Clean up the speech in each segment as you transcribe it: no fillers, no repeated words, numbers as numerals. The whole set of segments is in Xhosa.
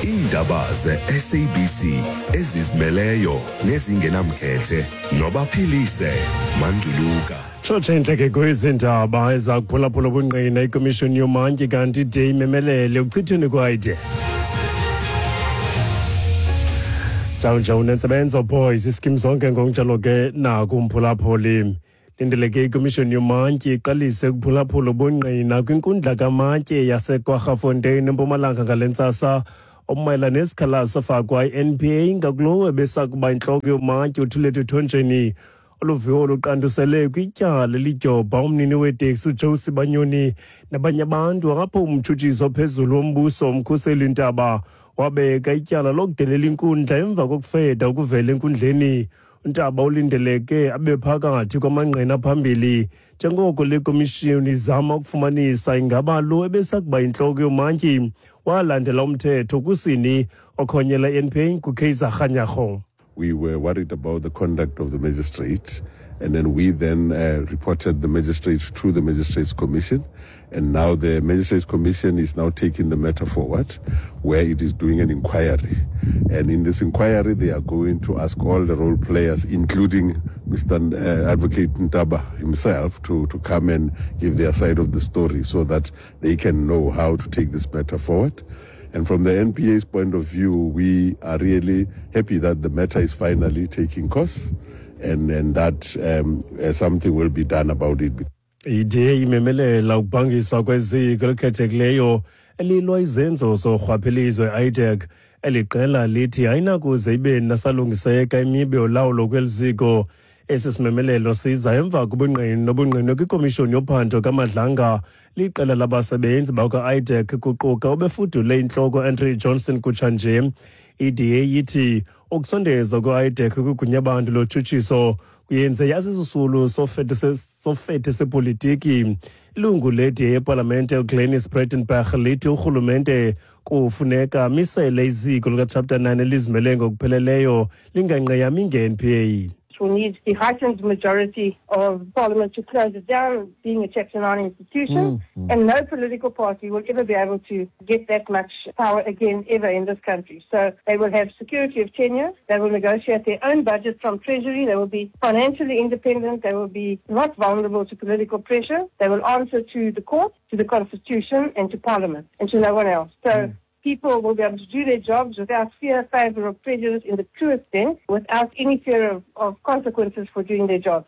Iindaba ze-SABC ezizimeleyo nezingenamkhethe nobaphilise manduluka. Tshotshe intleke kwezi ndaba eza kuphulaphula ubungqina ikomishoni yomantyi kanti ide imemelele ukuchithweni kwayide. Njawunjau nentsebenzo boys iskim zonke ngokunjalo ke nakumphulaphuli. Lindeleke ikomishoni yomantyi iqalise ukuphulaphula ubungqina kwinkundla kamatye yaseKwaggafontein eMpumalanga ngale ntsasa omayela nesikhalazo safakwa i-NPA ngakulowo ebesakuba intloko yomantyi uThulethu Thonjeni. Olu viwo luqandusele kwityala elidyobha umnini weteksi uJoe Sibanyoni nabanye abantu apho umtshutshisi ophezulu wombuso uMkhuseli Ntaba wabeka ityala lokudelela inkundla emva kokufeda ukuvela enkundleni. UNtaba ulindeleke abe phakathi kwamangqina phambili njengoko le komishoni izama ukufumanisa ingaba lo ebesakuba yintloko yomantyi walandela umthetho kusini okhonyela i-NPA nguKaiser Kganyago. We were worried about the conduct of the magistrate, and then we then reported the magistrates to the Magistrates Commission, and now the Magistrates Commission is now taking the matter forward, where it is doing an inquiry. And in this inquiry, they are going to ask all the role players, including Mr. Advocate Ntaba himself, to come and give their side of the story so that they can know how to take this matter forward. And from the NPA's point of view, we are really happy that the matter is finally taking course and that something will be done about it. Ide imemelela ukubhangiswa kweziko elikhethekileyo elilwa izenzo zorhwaphilizo i-IDAC. Eli qela lithi ayinakuze ibe nasalungiseka imiba yolawulo kweli ziko. Esi simemelelo siza emva kobungqina nobungqinwe kwikomishoni yophando kaMadlanga liqela labasebenzi bakwa-IDAC kuquka obefudule intloko Andrew Johnson kutshanje. I-DA ithi ukusondezwa kwe-IDAC kwigunyabantu lotshutshiso kuyenze yasisisulu sofethe sepolitiki. Ilungu le-DA epalamente uGlynnis Breytenbach lithi urhulumente kufuneka amisele iziko likaChapter 9 elizimele ngokupheleleyo lingangqiyami nge-NPA. Will need the heightened majority of Parliament to close it down, being a Chapter 9 institution, and no political party will ever be able to get that much power again ever in this country. So they will have security of tenure, they will negotiate their own budget from Treasury, they will be financially independent, they will be not vulnerable to political pressure, they will answer to the court, to the Constitution, and to Parliament, and to no one else. So people will be able to do their jobs without fear, favour or prejudice in the truest sense, without any fear of consequences for doing their jobs.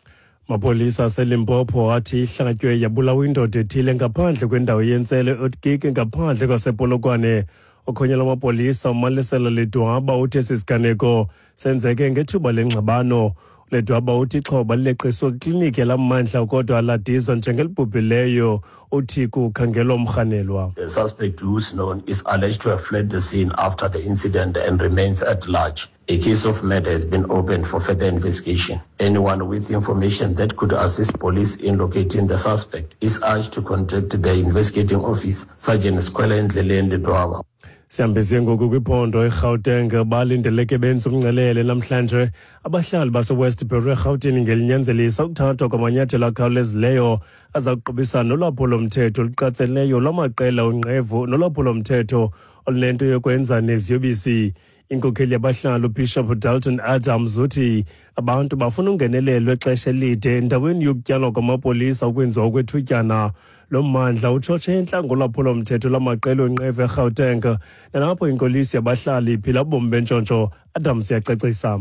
Mapolisa aseLimpopo athi ihlatywe yabulawa indoda ethile ngaphandle kwendawo yentselo eOtgike ngaphandle kwasePolokwane. Okhonyela amapolisa uMalisela Ledwaba uthi esi siganeko senzeke ngethuba lengxabano. Ledwaba uthi ixhoba lileqiswe kwikliniki yalaa kodwa ladizwa njengelibhubhileyo. Uthi kukhangelwa umrhanelwa. The suspect, who is known, is alleged to have fled the scene after the incident and remains at large. A case of murder has been opened for further investigation. Anyone with information that could assist police in locating the suspect is urged to contact the investigating office, Sergeant Skwela Ndleleni Ledwaba. Sihambise ngoku kwiphondo eGauteng. Balindeleke benze umngcelele namhlanje abahlali baseWestbury eRhawutini ngelinyanzelisa ukuthathwa kwamanyathelo akhawulezileyo aza kuqubisana nolwaphulomthetho oluqatseleyo lwamaqela onqevu nolwaphulomthetho olunento yokwenza neziyobisi. Inkokheli yabahlali uBishop Dalton Adams uthi abantu bafuna ungenelelo exesha elide endaweni yokutyalwa kwamapolisa ukwenziwa okwethutyana. Lo mmandla utshotshe entla ngolwaphulomthetho lwamaqela onqevu eGauteng nalapho inkoliso yabahlali iphila ubomi bentshontsho. Adams uyacacisa.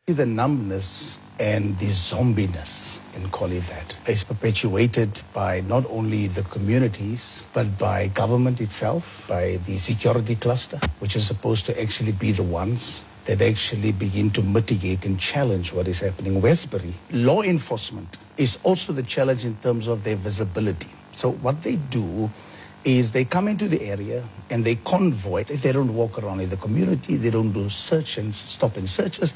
The numbness and the zombiness, can call it that, is perpetuated by not only the communities, but by government itself, by the security cluster, which is supposed to actually be the ones that actually begin to mitigate and challenge what is happening. Westbury, law enforcement is also the challenge in terms of their visibility. So what they do is they come into the area and they convoy. They don't walk around in the community. They don't do search and stop and searches.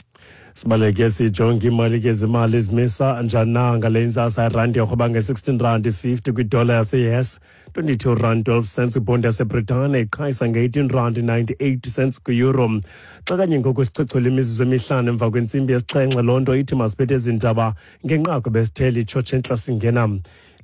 Sibaleke sijonge imali ke zimali zimisa njani na ngale ntsasa. Irandi yorhweba nge-16 rand 50 kwidola yase-US. 22 rand 12 cents kwibhondi yaseBritane, iqhayisa nge-18 rand 98 cents kwi-euro. Xa kanye ngoku sichochole imizuzu emihlanu emva kwentsimbi yesixhenxe, loo nto ithi masiphethe ezi ndaba ngenqaku besithele itshotshe entla singena.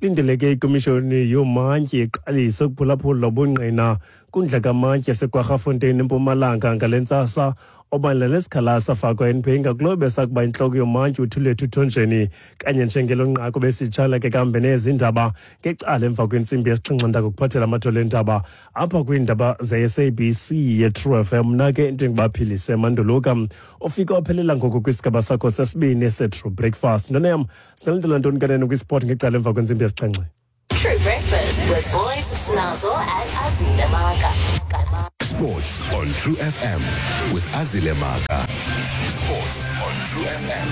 Lindeleke ikomishoni yoomantyi iqalise ukuphulaphula ubungqina kundla kamantyi yaseKwaggafontein eMpumalanga ngale ntsasa, obanela nesikhalazo safakwa NPA ngakulowo besakuba intloko yomantyi uThulethu Thonjeni. Kanye njengelo nqaku besitshala ke kambe nezi ndaba ngecala emva kwentsimbi yesixhenxe, ndakukuphathela amathole endaba apha kwiindaba ze-SABC ye-True FM. Mna ke ndinguBaphilise Manduluka, ufike waphelela ngoku kwisigaba sakho sesibini se-True Breakfast. Ntona yam, singalindela ntoni kanene kwisport ngecala emva kwentsimbi yesixhenxe? True Breakfast with Boys, Snazzle and Azile Maka. Sports on True FM with Azile Maka. Sports on True FM.